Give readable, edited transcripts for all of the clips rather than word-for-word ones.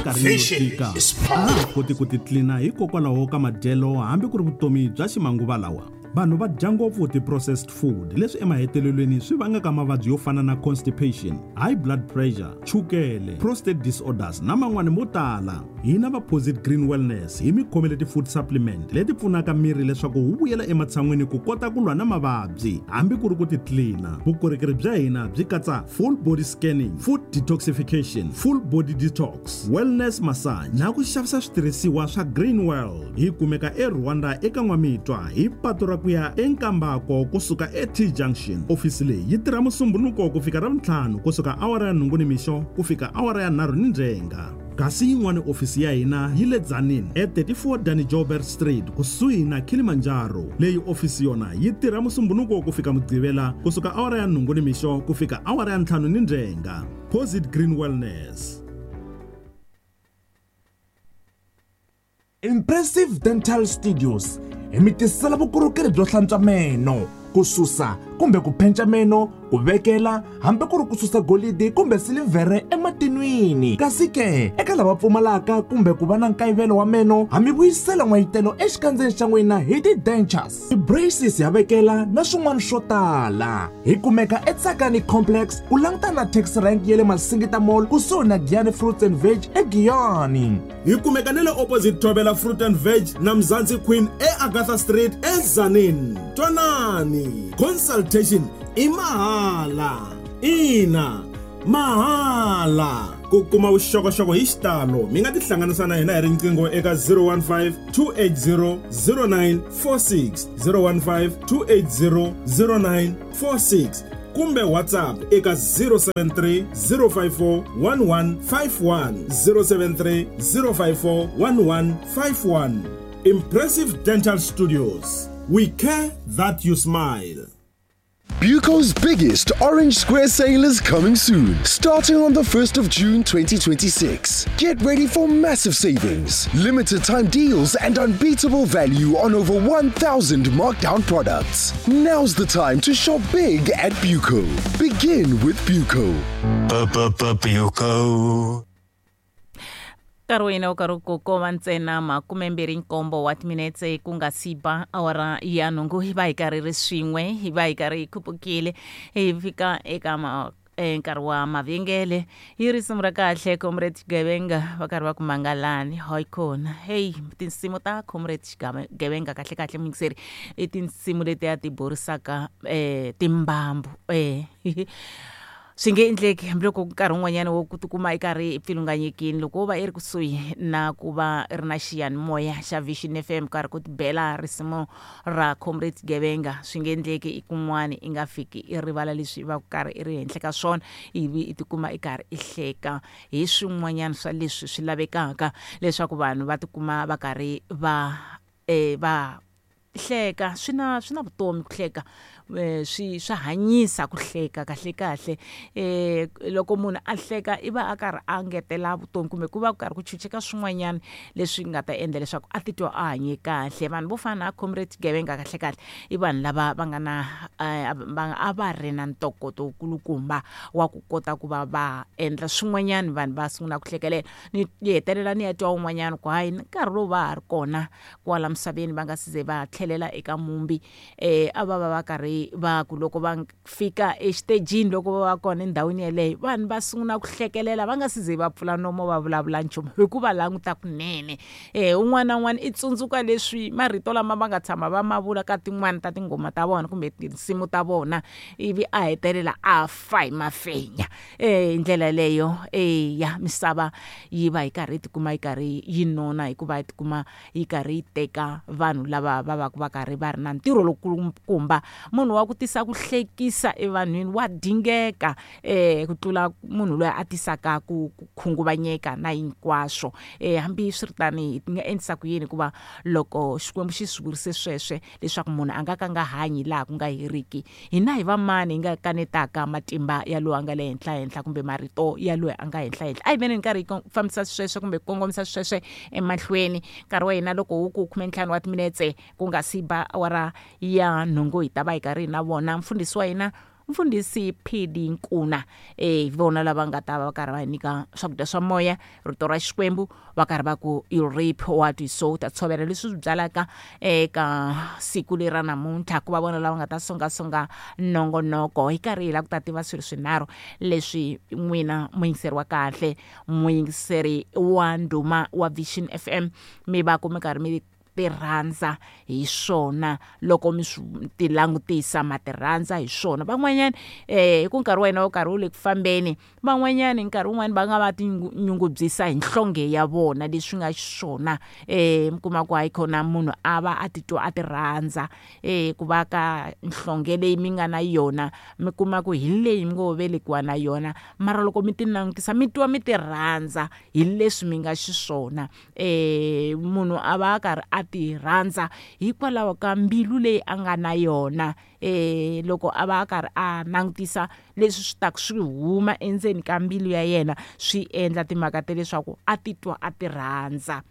Eminkarhini yo Vision tika is a power. ha koti ku titlina hikokwalaho ka madyelo hambi ku ri vutomi bya ximanguva lawa. Vanhu va dya ngopfu ti-processed food leswi emahetelelweni swi vangaka mavabyi yo fana na constipation, high blood pressure, chukele, prostate disorders na man'wani mo tala. Hina va Posit Green Wellness hi mi khomele ti-food supplement leti pfunaka miri leswaku wu vuyela ematshan'wini ku kota ku lwa na mavabyi hambi ku ri ku titlina. Vukorhokeri bya hina byi katsa full body scanning, food detoxification, full body detox, wellness massage na ku xavisa switirhisiwa swa Green World. Hi kumeka eRwanda eka N'wamitwa hi patu ra ku ya eNkambako kusuka eT Junction. Ofisi leyi yi tirha Musumbhunuko ku fika Ravuntlhanu kusuka awara ya nhungu nimixo ku fika awara ya nharhu nindzhenga. Kasi yin'wana ofisi ya hina yi le Tzaneen e34 Danny Joubert Street kusuhi na Kilimanjaro. Leyi ofisi yona yi tirha Musumbhunuko ku fika Mugqivela kusuka awara ya nhungu nimixo ku fika awara ya ntlhanu nindzhenga. Posit Green Wellness. Impressive Dental Studios hi mi tisela vukorhokeri byo hlantswa meno, ku susa kumbe ku phenca meno, ku vekela hambi ku ri ku susa golidi kumbe silivhere ematinwini. Kasi ke eka lava pfumalaka kumbe ku va na nkayivelo wa meno, ha mi vuyisela n'wayitelo exikandzeni xa n'wina hi ti-dentures, ti-braces ya vekela na swin'wana swo tala. Hi kumeka eTsakani Complex ku langutana na taxi rank ya le Masingita Mall kusuhi na Giyani Fruits and Veg eGiyani. Hi kumeka na le opposite Thobela Fruit and Veg na Mzansi Queen eAgatha Street eTzaneen. Twanani, consultation i mahala. Ina, mahala. Ku kuma vuxokoxoko hi xitalo mi nga tihlanganisa na hina hi riqingho eka 015 280 0946, 015 280 0946 kumbe WhatsApp eka 073 054 1151, 073 054 1151. Impressive Dental Studios. We care that you smile. Buco's biggest Orange Square sale is coming soon, starting on the 1st of June 2026. Get ready for massive savings, limited time deals, and unbeatable value on over 1,000 markdown products. Now's the time to shop big at Buco. Begin with Buco. Buco. Nkarhi wa hina wu karhi ku koma ntsena 27 wa timinetse ku nga si ba awara ya nhungu. Hi va hi karhi ri swin'we, hi va hi karhi hi khupukile hi fika eka ma nkarhi wa mavhengele hi risimu ra kahle Comrade Xigevenga va karhi va ku mangalani hayi kona. Hey, tinsimu ta Comrade Xigevenga kahle kahle muyingiseri i tinsimu letiya ti borisaka timbambu. Swi nge endleki hambiloko nkarhi wun'wanyana wo ku tikuma i karhi i pfilunganyekini loko wo va i ri kusuhi na ku va i ri na xiyanimoya xa Vision FM karhi ku tibela risimu ra Comrade Gevenga, swi nge endleki i kun'wani i nga fiki i rivala leswi i va ku karhi i ri henhla ka swona ivi i tikuma i karhi i hleka hi swin'wanyana swa leswi swi lavekaka leswaku vanhu va tikuma va karhi va va hleka. Swi na swi na vutomi ku hleka, swi swa hanyisa ku hleka kahle kahle. Loko munhu a hleka i va a karhi a ngetela vutomi kumbe ku va ku karhi ku chucheka swin'wanyana leswi nga ta endla leswaku a titwa a hanye kahle. Vanhu vo fana na Comrade Gevenga kahle kahle i vanhu lava va nga na va a va ri na ntokoto wukulukumba wa ku kota ku va va endla swin'wanyana vanhu va sungula ku hlekelela. Ni hetelela ni ya twa un'wanyana ku hayi nkarhi lowu va ha ri kona kwala misaveni va nga si ze va tlhelela eka mumbi, a va va va karhi va ku loko va fika exitejini loko va va kona endhawini yeleyo vanhu va sungula ku hlekelela va nga si ze va pfula nomo va vulavula nchumu hi ku va languta kunene. Un'wana na un'wana i tsundzuka leswi marito lama va nga tshama va ma vula ka tin'wani ta tinghoma ta vona kumbe tinsimu ta vona ivi a hetelela a fa hi mafenya. Hi ndlela leyo ya misava yi va yi karhi yi tikuma yi karhi yi nona hikuva yi tikuma yi karhi yi teka vanhu lava va va va karhi va ri na ntirho lowukulukumba. Munhu wa ku tisa ku hlekisa evanhwini wa dingeka ku tlula munhu loyi a tisaka ku khunguvanyeka na hinkwaswo. Hambi swiritani hi nga endlisa ku yini hikuva loko Xikwembu xi swi vurise sweswe leswaku munhu a nga ka nga hanyi laha ku nga heriki, hina hi va mani hi nga kanetaka matimba ya loyi a nga le henhla henhla kumbe marito ya loyi a nga henhla henhla? A hi veni nkarhi hi fambisa sweswe kumbe ku kongomisa sweswe emahlweni. Nkarhi wa hina loko wu ku 15 wa timinetse ku nga si ba awara ya nhungu hi ta va hi karhi hi na vona mfundhisi wa hina. Mfundhisi PD Nkuna. Hi vona lava nga ta va karhi va hi nyika swakudya swa moya, rito ra Xikwembu, va karhi va ku you reap what you sow, ta tshovela leswi swi byalaka eka siku leri ra namuntlha. Ku va vona lava nga ta songasonga nongonoko hi karhi hi lava ku ta tiva swilo swinharhu leswi n'wina muyingiseri wa kahle, muyingiseri wa ndhuma wa Vision FM, mi va ku mi karhi mi tirhandza hi swona loko mi swi ti langutisa, ma tirhandza hi swona. Van'wanyana hi ku nkarhi wa hina wo karhi wu le ku fambeni, van'wanyana nkarhi wun'wani va nga va tinyungubyisa hi nhlonge ya vona leswi nga xiswona. Mi kuma ku hayi khona munhu a va a titwa a ti rhandza ku va ka nhlonge leyi mi nga na yona, mi kuma ku hi leyi mi ngo velekiwa na yona, mara loko mi ti langutisa mi twa mi ti rhandza hi leswi mi nga xiswona. Munhu a va a karhi a ti rhandza hikwalaho ka mbilu leyi a nga na yona. Loko a va a karhi a langutisa leswi swi taka swi huma endzeni ka mbilu ya yena, swi endla timhaka ta leswaku a titwa a ti rhandza.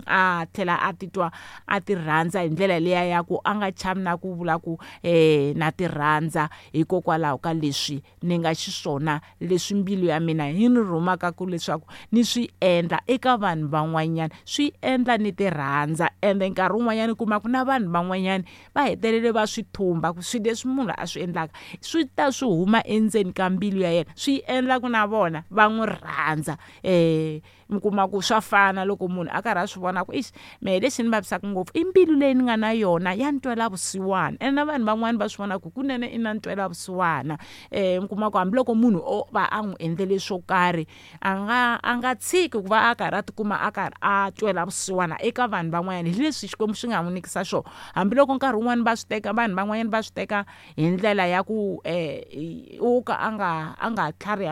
A tlhela a titwa a ti rhandza hi ndlela liya ya ku a nga chavi na ku vula ku na ti rhandza hikokwalaho ka leswi ni nga xiswona, leswi mbilu ya mina yi ni rhumaka ku leswaku ni swi endla eka vanhu van'wanyana, swi endla ni ti rhandza. Ende nkarhi wun'wanyana u kuma ku na vanhu van'wanyana va hetelele va swi thumba ku swilo leswi munhu a swi endlaka swi ta swi huma endzeni ka mbilu ya yena, swi endla ku na vona va n'wi rhandza. Mi kuma ku swa fana loko munhu a karhi a swi vona ku ixi mehe lexi ni vavisaka ngopfu i mbilu leyi ni nga na yona ya ntwela vusiwana. Ene na vanhu van'wani va swi vona ku kunene i na ntwela vusiwana. Mi kuma ku hambiloko munhu o va a n'wi endlele swo karhi, a nga tshiki ku va a karhi a tikuma a karhi a twela vusiwana eka vanhu van'wanyana hi leswi Xikwembu xi nga n'wi nyikisa swona. Hambiloko nkarhi wun'wani va swi teka, vanhu van'wanyana va swi teka hi ndlela ya ku u ka a nga tlhariha.